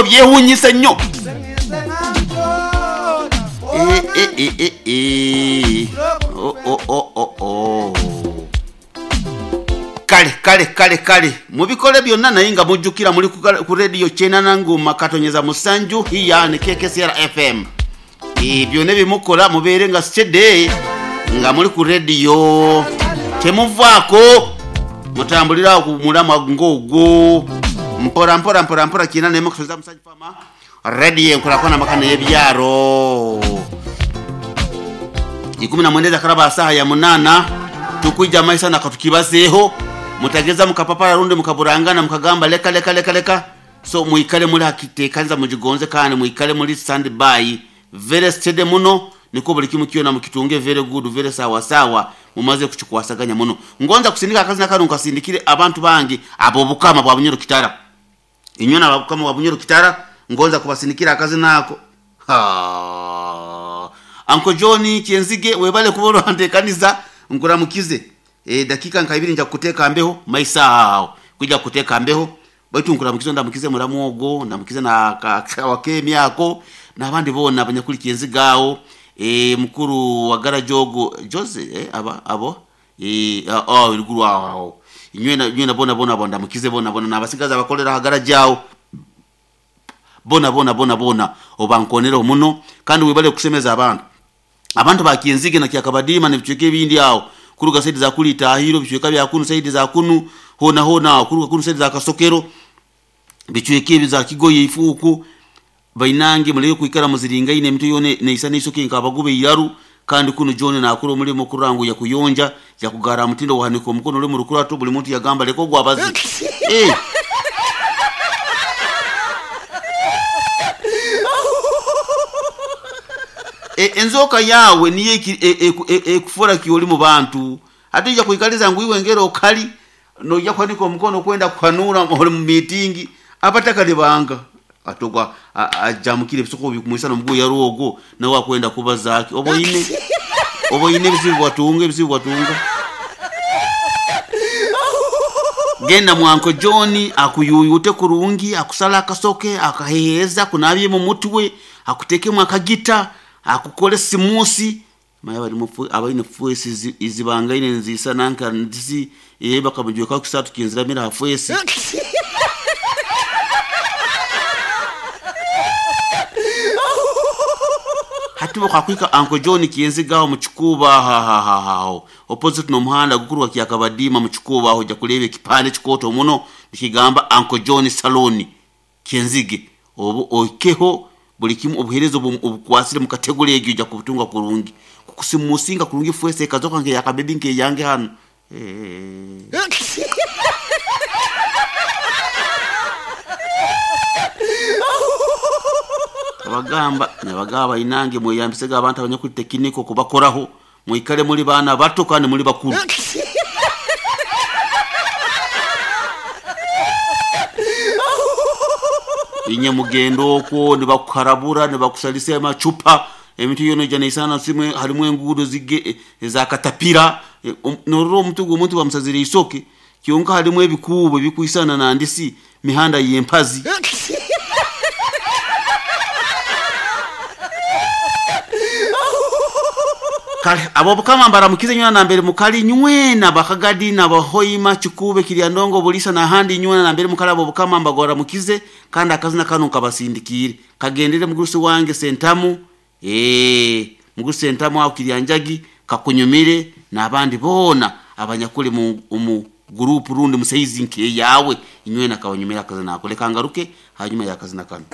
Byewuunyisa nnyo. Eh, eh, eh, eh, eh. Oh, oh, oh, oh, oh. Kale kale kale kale mubikole byonna, naye nga mujjukira muli ku rediyo kyenana nguma katonyeza musanju hiya ne KKCR FM. Byonna byemukola mubeere nga steady nga muli ku rediyo, temuvaako, mutambulira ku mulamwa ng'ogwo mpora mpora mpora mpora. Kyina nemu kusoza musanju fama rediyo enkulakona maka n'ebyaro 19 zakaraba saha ya 8 tukwija maisa nakatukibazeeho. Mutageza mukapapala rundi mukaburangana mukagamba leka leka leka leka. So muikale muri hakitekanza mujigonze kandi muikale muri stand by very steady muno, niko buli kimu kyona mukitunge very good, very sawa sawa, mumaze kukikwasaganya muno. Ngonza kusindika akazi nakano nkasindikire abantu bange abo bukama bwa Bunyoro Kitara, inyona abukama bwa Bunyoro Kitara, ngonza kubasindikira akazi nako. Ha, Uncle John Kyenzige, webale kuba olwanteekaniza, nkuramukize. Dakika nka ibiri nja kuteeka mbeho maisa aho kuja kuteeka mbeho, baitu nkuramukize, ndamukize muramu ogwo, ndamukize na wakemi ako n'abandi bona abanyakuli Kyenzige aho. Mukuru wa garajogo Jose, aba abo, oh iruguru aho inywena inywena bona bona bona, ndamukize bona bona n'abasigaza abakolera hagaraje aho bona bona bona bona, obankonera muno. Kandi webale kusemeza abantu ba Kyenzige na Kyakabadima n'ebicweka ebindi aho kuruga saidi za kuli Tahiro, bicweka bya kunu saidi za kunu hona hona, kuruga kunu saidi za Kasokero, bicweka ebi za Kigoye ifuku bainange, muleke kwikara muziringaine emito yone neisa neisoke nkabagube iraru. Kandi kuno John nakora omulimo kurangu ya kuyonja ya kugara mutindo wahanika omukono uli murukurato, buli muntu yagamba leka ogwabazi. Enzoka yawe niyo ekufora kioli mu bantu, ate ija kuikaliza ngu iwe ngero okali noija kuhanika omukono kwenda kuhanura oli mu miitingi abatakali banga atogwa ajamukire ebisoko bikumwisa nomugu yaruogo nawe akwenda kuba zaki oboine oboine ebizibu bwatunga ebizibu bwatunga. Genda mwanko John akuyuyute kurungi, akusala akasoke akaheheza kunabye mu mutwe, akutekemu akagita, akukole simusi maya bali mufu abaine fuesi izibangaine nzisa nanka ndisi bakamujuka kusatu kinziramira fuesi. Hatibo kakwika Uncle John Kyenzigaho mu Kikuubo aho opposite n'omuhanda gukuru wa Kyakabadima mu Kikuubo aho, ojja kureeba ekipande kikooto muno nikigamba Uncle John Salon Kyenzige, obu oikeho buli kimu obuheereza obukwasire mu kategori egyo ojja kubutunga kurungi kukusimusinga kurungi fuese ekazoka nke yakabebi nke yange hano. Abagamba nabagaba inange mweyambisega abantu abanyakuli tekiniko kubakoraho, mwikale muri bana bato kandi muri bakuru. Inye mugendo okwo nibakuharabura nibakusalisa amacupa emintu yona ija neisana simwe harimu enguudo zige za katapira. Norora omuti gw'omuntu bamusazire isoke kyonka harimu ebikuubo ebikwisana nandisi mihanda y'empazi. Kale abo bukama mbaramukize nywena nambere mukali nywena bakagadi na bahoima Kikube Kiryandongo Bulisa na handi nywena nambere mukali, abo bukama mbagora mukize. Kandi akazina kano kabasindikire kagendere mugurusi wange Sentamu, mugurusi Sentamu aho Kiryanjagi kakunyumire n'abandi bona abanyakuli mu group rundi musaizi nke yawe inywena kabanyumira akazina ako. Leka ngaruke hanyuma yakazina kano.